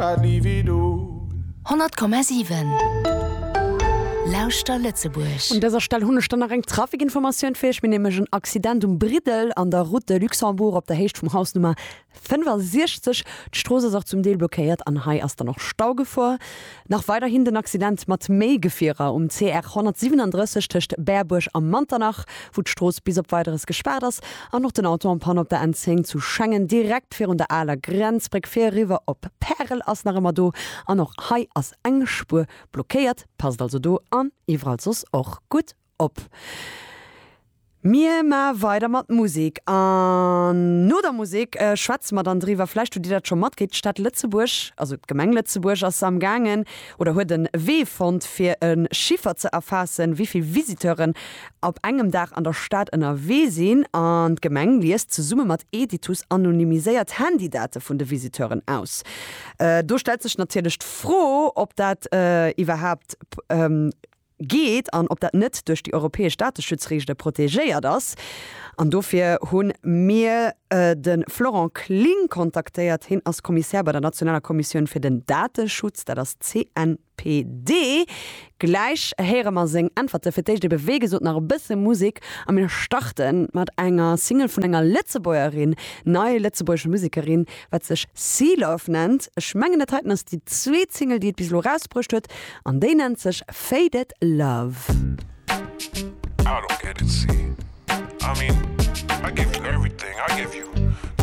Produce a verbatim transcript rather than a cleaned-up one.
I'd leave it all. honnert Komma siwen Lauschter Lëtzebuerg. Un dëser Stell hunn ech dann nach eng Trafikinformatioun fir iech. Mir nämlech en Accident um Briddel an der Route de Luxembourg op der Héicht vum Haus Nummer fënnefasiechzeg. D'Strooss ass och zum Deel blockéiert an hei ass dann och Staugefor. Nach weiderhin den Accident mat méi Gefierer um C R honnertsiwwenendrësseg tëscht Berbuerg a Manternach, wou d'Strooss bis op Weideres gespaart ass, an och den Auto en panne op der N zéng zu Schengen direkt virun der aler Grenzbréck fir eriwwer op Pärel ass nach ëmmer do an och hei ass eng Spuer blockéiert. Passt also do an iwwerall soss och gutt op. Mir ma weider mat Musek an no der Musek schwätze mer dann driwwer, vläicht hutt Dir dat scho matkritt, d'Stad Lëtzebuerg, also d'Gemeng Lëtzebuerg ass am gaangen oder huet e Wee fonnt fir e Chiffer ze erfaassen, wéi vill Visiteuren op engem Dag an der Stad ënnerwee sinn. An d'Gemeng liest zesumme mat Editus anonymiséiert Handydate vun de Visiteuren aus. Do stellt sech natierlech d'Fro, ob dat iwwerhaapt geet an ob dat net duerch déi europäesch Dateschutzreegele protegéiert ass. An dofir hu mir de Florent Kling kontaktéiert. Hien ass Kommissär bei der nationaler Kommissioun fir den Dateschutz, dat ass C N P D. Gläich héiere mer seng Äntwerte. Fir d'éischt ebe wéi gesot nach e bësse Musek a mir starte mat enger Single vun enger Lëtzebuergerin, nei lëtzebuergesche Musekerin, wat sech Sealove nennt. Ech mengen dat heiten ass déi zweet Single, déi et bis elo erausbruecht huet an déi nennt sech Faded Love. I don't get it, C. I mean, I gave you everything. I gave you